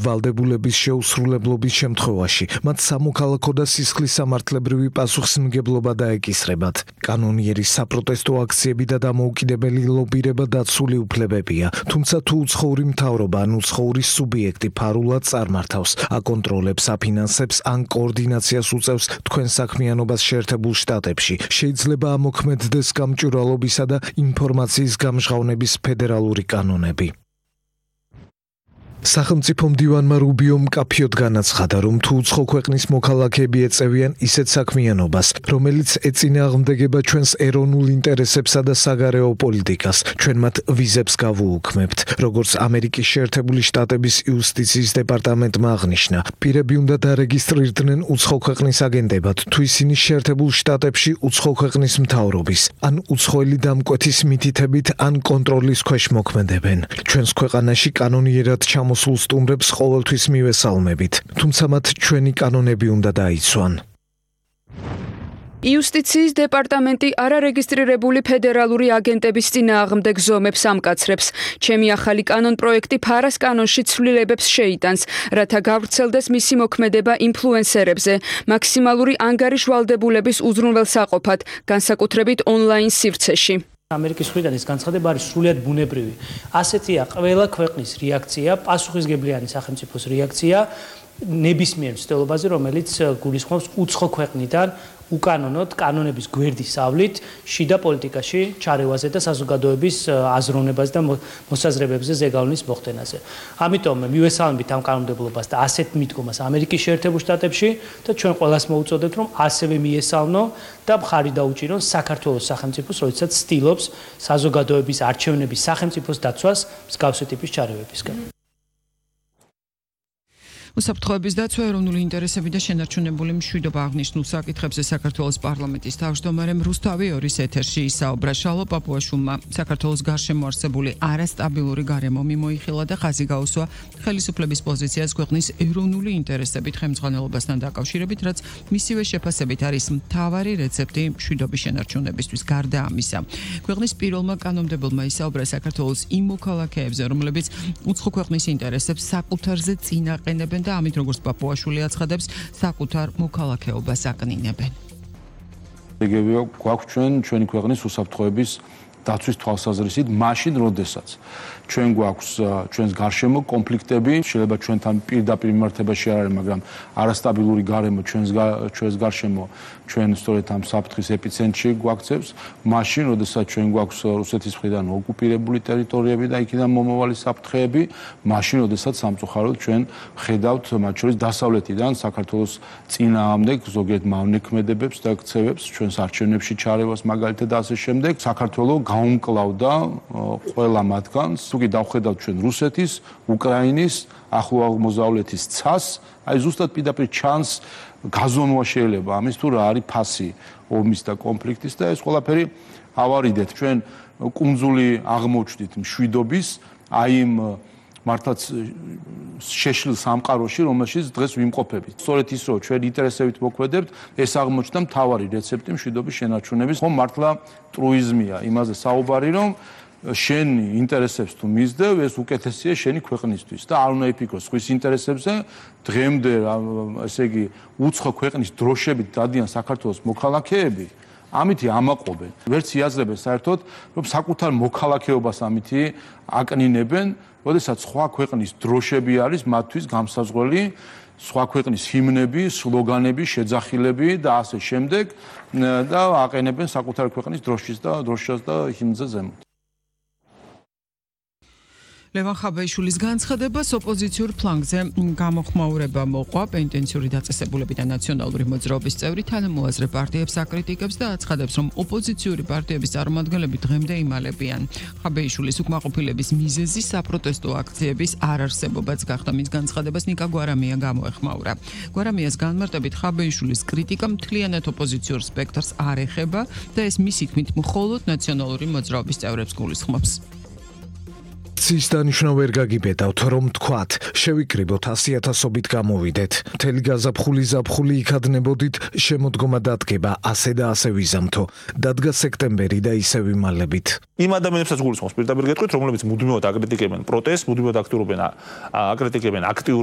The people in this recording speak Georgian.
ვალდებულების შეუსრულებლობის შემთხვევაში მათ სამოქალაქო და სისხლის სამართლებრივი პასუხისმგებლობა დაეკისრებათ. კანონიერი საპროტესტო აქციები და დამოუკიდებელი ლობირება დაცული უფლებებია, თუმცა თუ უცხოური მთავრობა ან უცხოური სუბიექტი ფარულად წარმართავს, აკონტროლებს, აფინანსებს ან კოორდინაციას უწევს თქვენ საქმიანობას შეერთებულ შტატებში, შეიძლება ამოქმედდეს გამჭვირვალობისა და ინფორმაციის გამჟღავნების ფედერალური კანონები. სახელმწიფო მდივანმა რუბიომ მკაფიოდ განაცხადა, რომ თუ უცხო ქვეყნის მოქალაქეები ეწევიან ისეთ საქმიანობას, რომელიც ეწინააღმდეგება ჩვენს ეროვნულ ინტერესებსა და საგარეო პოლიტიკას, ჩვენ მათ ვიზებს გავუუქმებთ. როგორც ამერიკის შეერთებული შტატების იუსტიციის დეპარტამენტმა აღნიშნა, პირები უნდა დარეგისტრირდნენ უცხო ქვეყნის აგენტებად, თუ ისინი შეერთებულ შტატებში უცხო ქვეყნის მთავრობის, ან უცხოელი დამკვეთის მითითებით ან კონტროლის ქვეშ მოქმედებენ. ჩვენს ქვეყანაში კანონიერად მოსულ სტუმრებს ყოველთვის მივესალმებით, თუმცა მათ ჩვენი კანონები უნდა დაიცვან. იუსტიციის დეპარტამენტი არარეგისტრირებული ფედერალური აგენტების წინააღმდეგ ზომებს ამკაცრებს. ჩემი ახალი კანონ პროექტი ფარას კანონში ცვლილებებს შეიტანს, რათა გავრცელდეს მისი მოქმედება ინფლუენსერებზე, მაქსიმალური ანგარიშ ვალდებულების უზრუნველსაყოფად, განსაკუთრებით ონლაინ სივრცეში. ამერიკის მხრიდან ეს განცხადება არის სრულიად ბუნებრივი. ასეთია ყველა ქვეყნის რეაქცია, პასუხისმგებლიანი სახელმწიფოს რეაქცია ნებისმიერ მცდელობაზე, რომელიც გულისხმობს უცხო ქვეყნიდან უკანონოდ კანონების გვერდისავლით შიდა პოლიტიკაში ჩარევაზე და საზოგადოების აზროვნებაზე და მოსაზრებებზე ზეგავლენის მოხდენაზე. ამიტომ მივესალმებით ამ კანონმდებლობას და ასეთ მიდგომას ამერიკის შეერთებულ შტატებში და ჩვენ ყველას მოუწოდებთ, რომ ასევე მიესალმო და მხარი დაუჭირონ საქართველოს სახელმწიფოს, როდესაც ცდილობს საზოგადოების არჩევნების სახელმწიფოს დაცვას მსგავსი ტიპის ჩარევებისგან. უსაფრთხოების დაცვა, ეროვნული ინტერესები და შენარჩუნებული მშვიდობა აღნიშნულ საკითხებზე საქართველოს პარლამენტის თავმჯდომარე რუსთავი ორის ეთერში ისაუბრა. შალო პაპუაშვილმა საქართველოს გარშემო არსებული არასტაბილური გარემო მიმოიხილა და ხაზი გაუსვა ხელისუფლების პოზიციას ქვეყნის ეროვნული ინტერესებით ხელმძღვანელობასთან დაკავშირებით, რაც მისივე შეფასებით არის მთავარი რეცეპტი მშვიდობის შენარჩუნებისთვის. გარდა ამისა, ქვეყნის პირველმა კანონმდებელმა ისაუბრა საქართველოს იმ მოქალაქეებზე, რომლებიც უცხო ქვეყნის ინტერესებს საკუთარზე წინაყენებენ და ამით როგორც პაპუაშვილი აცხადებს, საკუთარ მოქალაქეობას აკნინებენ. გვაქვს ჩვენი ქვეყნის უსაფრთხოების დაცვის თვალსაზრისით, მაშინ როდესაც ჩვენ გვაქვს ჩვენს გარშემო კონფლიქტები, შეიძლება ჩვენთან პირდაპირ მიმართებაში არ არის, მაგრამ არასტაბილური გარემო ჩვენს გარშემო ჩვენ სწორედ ამ საფრთხის ეპიცენტრში გვაქცევს, მაშინ როდესაც ჩვენ გვაქვს რუსეთის მხრიდან ოკუპირებული ტერიტორიები და იქიდან მომავალი საფრთხეები, მაშინ როდესაც სამწუხაროდ ჩვენ ხედავთ მათ შორის დასავლეთიდან საქართველოს წინააღმდეგ ზოგიერთ მავნექმედებებს და ქცევებს, ჩვენს არჩევნებში ჩარევას მაგალითად და ასე შემდეგ. საქართველოს გაუმკლავდა ყველა მათგანს, თუ კი დავხედავთ ჩვენ რუსეთის, უკრაინის, ახლო აღმოსავლეთის ცას, აი ზუსტად პირდაპირ ჩანს გაზომვა შეიძლება ამის თუ რა არის ფასი ომის და კონფლიქტის და ეს ყველაფერი ავარიდეთ. ჩვენ კუნძული აღმოჩნდით მშვიდობის, აი იმ მართლაც შეშლილ სამყაროში, რომელშიც დღეს ვიმყოფებით. სწორედ ის, რომ ჩვენ ინტერესებით მოქმედებთ, ეს აღმოჩნდა მთავარი რეცეპტი მშვიდობის შენარჩუნების. ხომ მართლა ტრუიზმია იმაზე საუბარი, რომ შენი ინტერესებს თუ მისდევ, ეს უკეთესია შენი ქვეყნისთვის და არ უნდა იფიქროს სხვის ინტერესებზე. დღემდე, ესე იგი, უცხო ქვეყნის დროშებით დადიან საქართველოს მოქალაქეები, ამითი ამაყობენ. ვერც იაზრებენ საერთოდ, რომ საკუთარ მოქალაქეობას ამითი აკნინებენ, როდესაც სხვა ქვეყნის დროშები არის მათთვის გამსაზღვრელი, სხვა ქვეყნის ჰიმნები, სლოგანები, შეძახილები და ასე შემდეგ და აყენებენ საკუთარ ქვეყნის დროშას და ჰიმნზე ზემოთ. ლევან ხაბაიშვილის განცხადებას ოპოზიციურ ფლანგზე გამოხმაურება მოყვა. პენტენციური დაწესებულები და ნაციონალური მოძრაობის წევრი თანამოაზრე პარტიებს აკრიტიკებს და აცხადებს, რომ ოპოზიციური პარტიების წარმომადგენლები დღემდე იმალებიან. ხაბაიშვილის უკმაყოფილების მიზეზი საპროტესტო აქციების არარსებობაც გახდა. მის განცხადებას ნიკა გვარამია გამოეხმაურა. გვარამიას განმარტებით, ხაბაიშვილის კრიტიკა მთლიანად ოპოზიციურ სპექტრს არ ეხება და ეს მისი თქმით მხოლოდ ნაციონალური მოძრაობის წევრებს გულისხმობს. აქციის დანიშვნა ვერ გაგიბედავთ, რომ თქვათ, შევიკრიბოთ 100,000-ობით გამოვიდეთ. მთელი გაზაფხული ზაფხული იქადნებოდით, შემოდგომა დადგება, ასე და ასე ვიზამთო. დადგა სექტემბერი და ისე ვიმალებით. იმ ადამიანებსაც გულისხმობს პირდაპირ გეტყვით, რომლებიც მუდმივად აკრიტიკებენ პროტესტს, მუდმივად აქტიურობენ აქტიურ